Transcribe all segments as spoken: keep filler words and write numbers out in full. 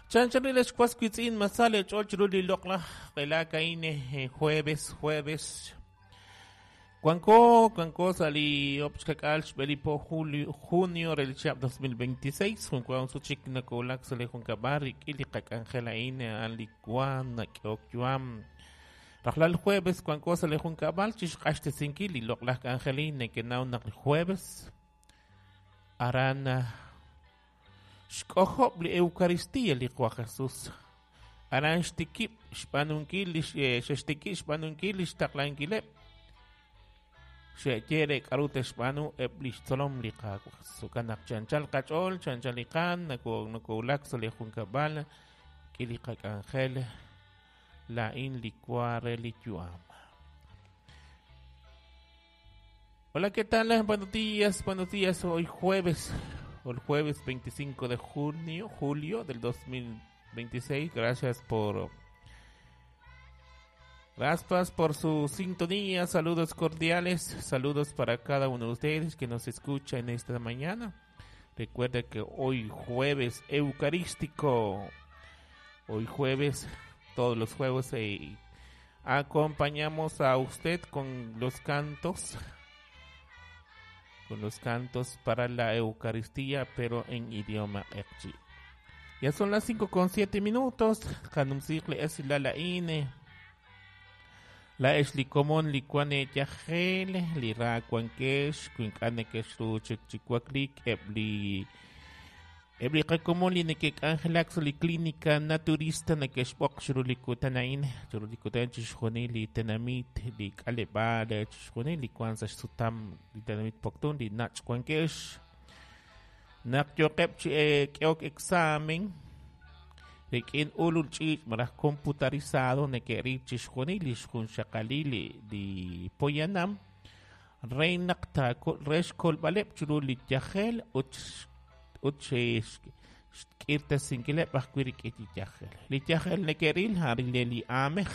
Chanchanil xwas witz'in masale ch'ol chiru li loq'laj qelak a'in jueves jueves Cuanco, cuanco sali obxkakal xb'elipo julio junio rel chihab' dos mil veintiséis junkuan suchik nakolak sali junkab'al rik'in li qak'anjel a'in a'an li wan nak'ehok yuam rajlal jueves cuanco sali junkab'al chixq'axtesinkil li loq'laj k'anjelin nekenaw naq li jueves aran xk'ojob' li Eucaristía li Qwa Jesús aran xtikib' xb'aanunkil li xextikib' xb'aanunkil li xtaqlankileb' xe'yere k'aru texb'aanu eb' li xtzolom li Qaawa' Jesús naq chanchal qach'ool chanchal li qaan nakowulak sa' li junkab'al k'i li qak'anjel la'in li wa re li yu'am. Hola, ¿qué tal? Buenos días, buenos días. Hoy jueves, el jueves veinticinco de junio, julio del dos mil veintiséis. Gracias por Gracias por su sintonía. Saludos cordiales, saludos para cada uno de ustedes que nos escucha en esta mañana. Recuerda que hoy jueves eucarístico, hoy jueves, todos los jueves eh, acompañamos a usted con los cantos, con los cantos para la Eucaristía, pero en idioma q'eqchi. Ya son las cinco con siete minutos. Kanumsikle es la la ine. La es li komon li kuane yajel, li ra kuankesh, kuinkane keshru chik chikuaklik, eb li eb li qakomon li nekek angelak li clínica naturista nekeshbok shru li kutanain, shru li kutan chixjoni li tenamit, li k'aleb'al, chixjoni li kuan sa xsutam li tenamit poktun, li nach kuankesh. Naq yoqeb chi k'eok examen rik'in ulul ch'iich' maraj computarizado neke'ril chixjunil li xjunxaqalil li, li poyanam re naq taako re xkolb'aleb' chiru li yajel ut ut xk'irtesinkileb' ajwi' rik'in li yajel. Li yajel neke'ril a'an li aamej.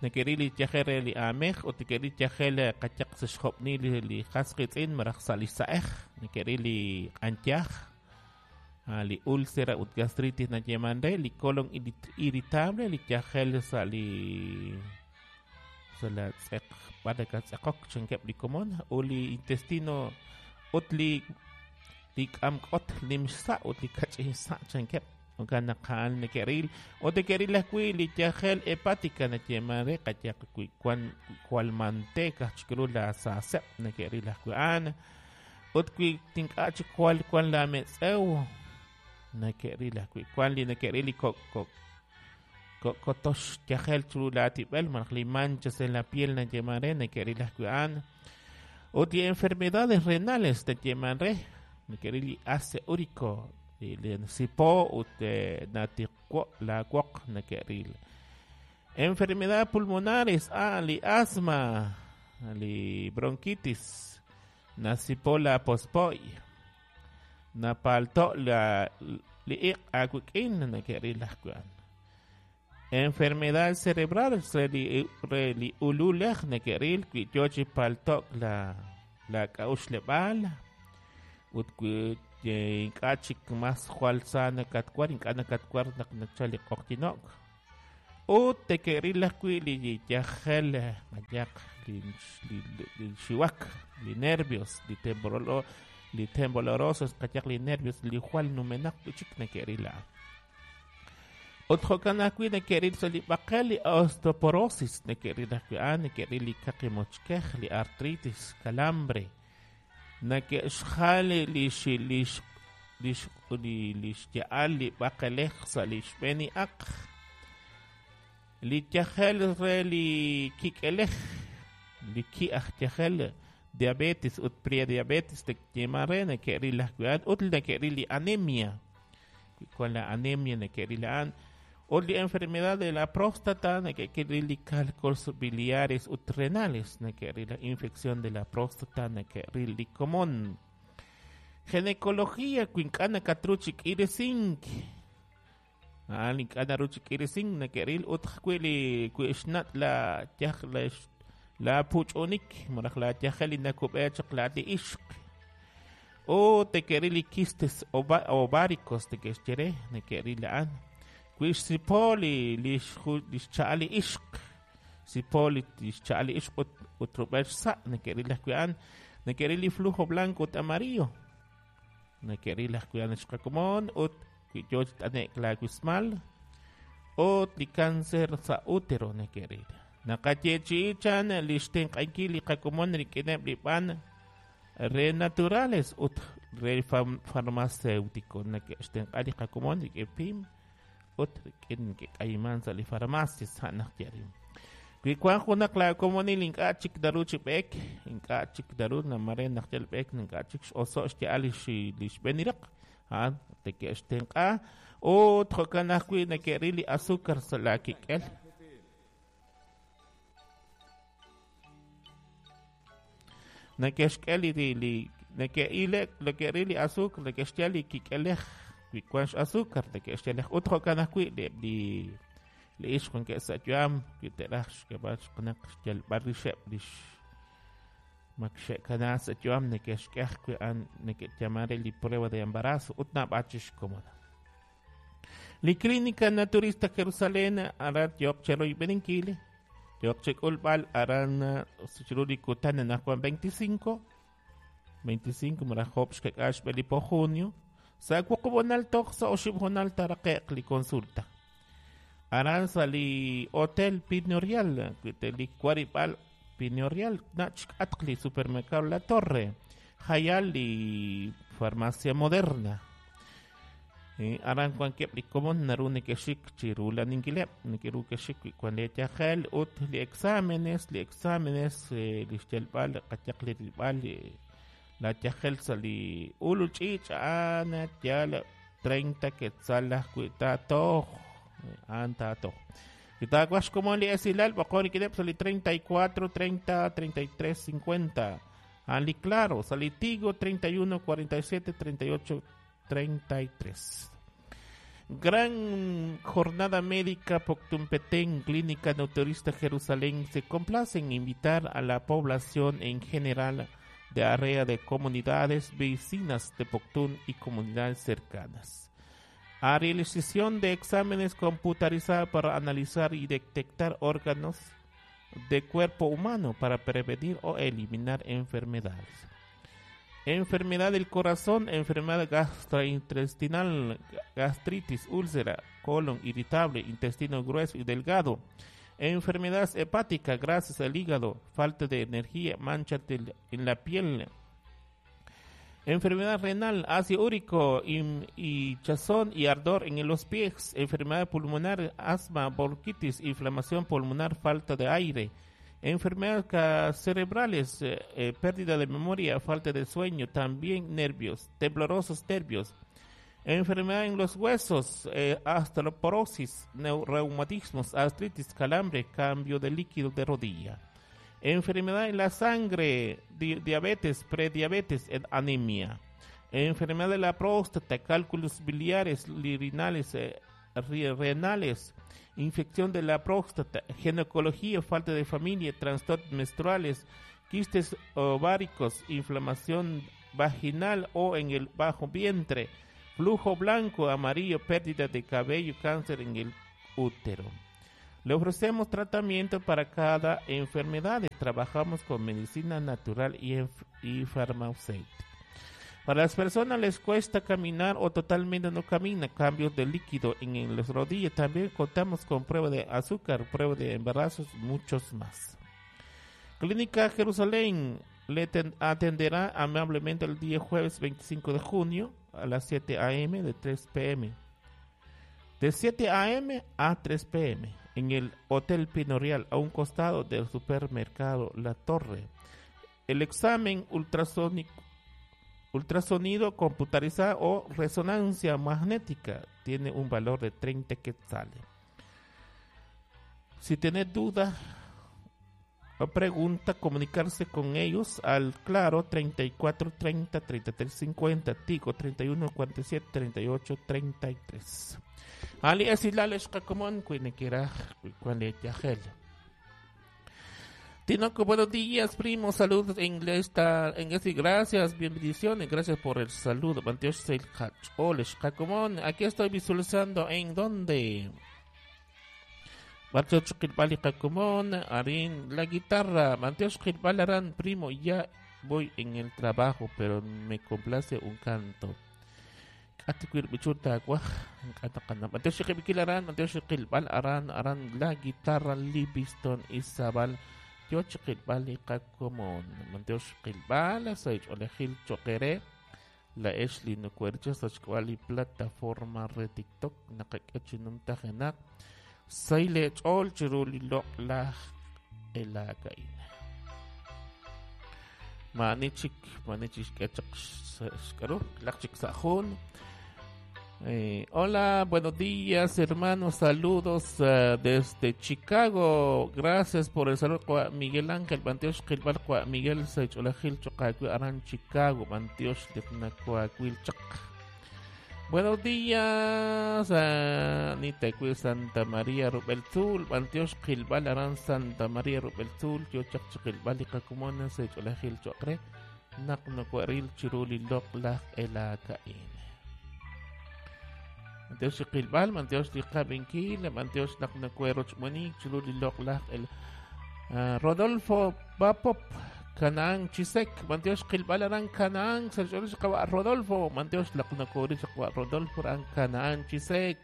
Neke'ril li yajel re li aamej ut neke'ril yajel qachaq sa xjob'nil li, li qas qitz'in maraj sa' li sa'ej. Neke'ril li q'antyaj, li úlcera ut gastritis nayeman re, li colon irritable, li yajel sa' li sa' la tz'eq b'alaka tz'eqok chankeb' li komon u li intestino ut li li k'amk'ot nim xsa' ut li kach'in sa' chankeb' jo'kan naq a'an neke'ril ut neke'ril ajwi' li yajel hepática nayeman re qayaq wi wan jwal manteca chikru la saaseb' neke'ril ajwi' a'an ut wi tink'a' chik jwal wan la metz'ew neke'ril ajwi' wan li neke'ril li kok kok kotox yajel chiru la tib'el maraj li manchas en la piel nayeman re neke'ril ajwi' a'an ut li enfermedades renales nayeman re neke'ril li ácido úrico li li sipo ut natiqwo la woq neke'ril enfermedades pulmonares ah li asma li bronquitis nasipo la pospoy napalto la li iq awik'in neke'ril ajwi' a'an enfermedad cerebral re li re li ululej neke'ril wi yo chi paltok la la k'a'uxleb'al ut wi ink'a' chik mas jwal sa nakatwar ink'a' nakatwar naq nachal li q'oqyino'k ut teke'ril ajwi' li yajel mayaq li li li xiwak li nervios li temborolo li tembolorosos qayaq li nervios li jwal numenaq chik neke'ril a'an ut jo'kan ajwi' neke'ril sa' li b'aqel li osteoporosis neke'ril ajwi' a'an neke'ril li kaqi mochkej li artritis calambre neke'xjal li xi li li li li xya'al li b'aqelej sa' li xb'een aq li yajel re li kik'elej li ki'aj yajel diabetes ut prediabetes teyeman re neke'ril ajwi' a'an ut neke'ril li anemia con la anemia neke'ril a'an ut li enfermedad de la próstata neke'ril li cálculos biliares ut renales neke'ril la infección de la próstata neke'ril li komon ginecología wi ink'a' nakatru chi k'iresink a'an ink'a' naru chi k'iresink neke'ril ut ajwi' li wi xnat' la yaj la la puch'unik maraj la yajel li nakub'e chaq la li ixq O neke'ril li quistes ováricos neke'xye re, neke'ril a'an. Wi xsipo li li xcha'al li ixq, sipo li xcha'al li ixq ut ut rub'el xsa' neke'ril ajwi' a'an. Neke'ril li flujo blanco ut amarillo. Neke'ril ajwi' a'an xqakomon ut wi yoo chi t'ane'k laawismal ut li cáncer sa' útero neke'ril. Naqayeechi'i chan li xtenq'ankil li qakomon rik'ineb' li b'an re naturales ut re farmacéutico. Neke'xtenq'a li qakomon rik'in pim ut rik'in neke'k'ayiman sa' li farmacia sa' naq yarim. Wi wan junaq laakomonil ink'a' chik naru chi b'eek, ink'a' chik naru namare naq yal b'eek ink'a' chik x'oso' xya'al li xb'eeniraq, a'an neke'xtenq'a ut jo'kan ajwi' neke'ril li azúcar sa' laakik'el. Neke'xk'e li li neke'ilek neke'ril li azúcar neke'xyal li kik'elej wi wan x'azúcar neke'xyalej ut jo'kan ajwi' li li li ixq wankeb' sa' yu'am wi te'raj xk'eb'al xqanaq xyalb'al rixeb' lix mak xe'kana sa' yu'am neke'xk'e ajwi' a'an neke'yaman re li prueba de embarazo ut naab'al chi xkomon. Li Clínica Naturista Jerusalén aran yo'q cheroyb'eninkil yo'q chek'ulb'al aran chiru li kutan anaqwan veinticinco veinticinco maraj job xkak'al xb'e li po junio sa' wuqub' toj sa' oxib' honal taraqe'q li consulta. Aran sa' li Hotel Pinorial, li warib'al Pinorial nach xk'atq li supermercado La Torre, jayal li Farmacia Moderna. Eh, aran wankeb' li komon naru neke'xik chiru laninkileb', neke'ru ke'xik wi wan li yajel ut li exámenes, li exámenes eh, li xyalb'al qayaq li rilb'al li la yajel sa' li ulul ch'iich' a'an yal treinta quetzal ajwi' taatoj, a'an taatoj. Wi taawaj xkomon li esilal b'oqon rik'ineb' sa' li treinta y cuatro, treinta, treinta y tres, cincuenta. A'an li Claro, sa' li Tigo treinta y uno, cuarenta y siete, treinta y ocho, treinta y tres. Gran jornada médica Poctún Petén, Clínica Naturista Jerusalén se complace en invitar a la población en general de área de comunidades vecinas de Poptún y comunidades cercanas. A realización de exámenes computarizados para analizar y detectar órganos de cuerpo humano para prevenir o eliminar enfermedades. Enfermedad del corazón, enfermedad gastrointestinal, gastritis, úlcera, colon irritable, intestino grueso y delgado, enfermedad hepática, grasas al hígado, falta de energía, mancha en la piel, enfermedad renal, ácido úrico, hinchazón y ardor en los pies, enfermedad pulmonar, asma, bronquitis, inflamación pulmonar, falta de aire, enfermedades cerebrales, eh, eh, pérdida de memoria, falta de sueño, también nervios, temblorosos nervios, enfermedad en los huesos, eh, osteoporosis, reumatismos, artritis, calambre, cambio de líquido de rodilla, enfermedad en la sangre, di diabetes, prediabetes, anemia, enfermedad de la próstata, cálculos biliares, renales, eh, renales, infección de la próstata, ginecología, falta de familia, trastornos menstruales, quistes ováricos, inflamación vaginal o en el bajo vientre, flujo blanco, amarillo, pérdida de cabello, cáncer en el útero. Le ofrecemos tratamiento para cada enfermedad. Trabajamos con medicina natural y, y farmacéutica. Para las personas les cuesta caminar o totalmente no camina, cambios de líquido en, en las rodillas. También contamos con prueba de azúcar, prueba de embarazos, muchos más. Clínica Jerusalén le atenderá amablemente el día jueves veinticinco de junio a las siete a m de tres p m De siete a m a tres p m en el Hotel Pinorial, a un costado del supermercado La Torre. El examen ultrasónico, ultrasonido computarizado o resonancia magnética tiene un valor de treinta quetzales. Si tiene duda o pregunta, comunicarse con ellos al Claro treinta y cuatro treinta treinta y tres cincuenta, Tigo treinta y uno cuarenta y siete treinta y ocho treinta y tres. Ali esilal xqakomon kuinekiraj kuanle yajel. Tinoco, buenos días, primo. Saludos en esta, en este, gracias, bendiciones, gracias por el saludo. Aquí estoy visualizando en dónde. Arin, la guitarra. Primo, ya voy en el trabajo, pero me complace un canto. Aran, la guitarra, Livingston Isabel. Yochqilbal qakomon Manteoxqilbal saich olejil choqere la Ashley nucuercha sachkwali plataforma re TikTok naqak'achinum tajenak sayle ch'ol chiruli loqlaj elakain manichik manichik k'achaq xk'aru laqchik sa'jun. Eh, hola, buenos días, hermanos. Saludos uh, desde Chicago. Gracias por el saludo. Miguel Ángel, Mantiox Qilbal, Miguel Saicholajil, Chocacuil, Aran, Chicago, Mantiox Liqnacuacuil, Chak. Buenos días, uh, Nitacuil, Santa María, Rubelzul, Mantiox Qilbal, Aran, Santa María, Rubelzul, Yochak Chiqilbal, Iqacumona, Saicholajil, Chocre, Naqnacuaril, Chiruli, Loqlaj, Elakain. Manteos qilbal, manteos liqabinkil, manteos naqnacuerochmunik, chululi loqlaj el uh, Rodolfo Bapop, Canaan Chisek, manteos qilbal aran Canaan, Rodolfo, manteos laqnacuerich Rodolfo aran Canaan Chisek,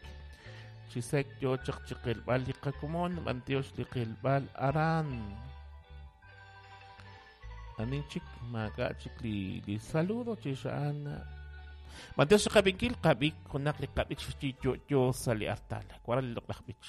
Chisek yo chaqchiqilbal liqakumon, manteos liqilbal aran. Aninchik, magachik li, li saludo chishaan. Manteos qabinkil qabik kunak li qabich chi yo yo sali artal. Kuaral loqlaj bich.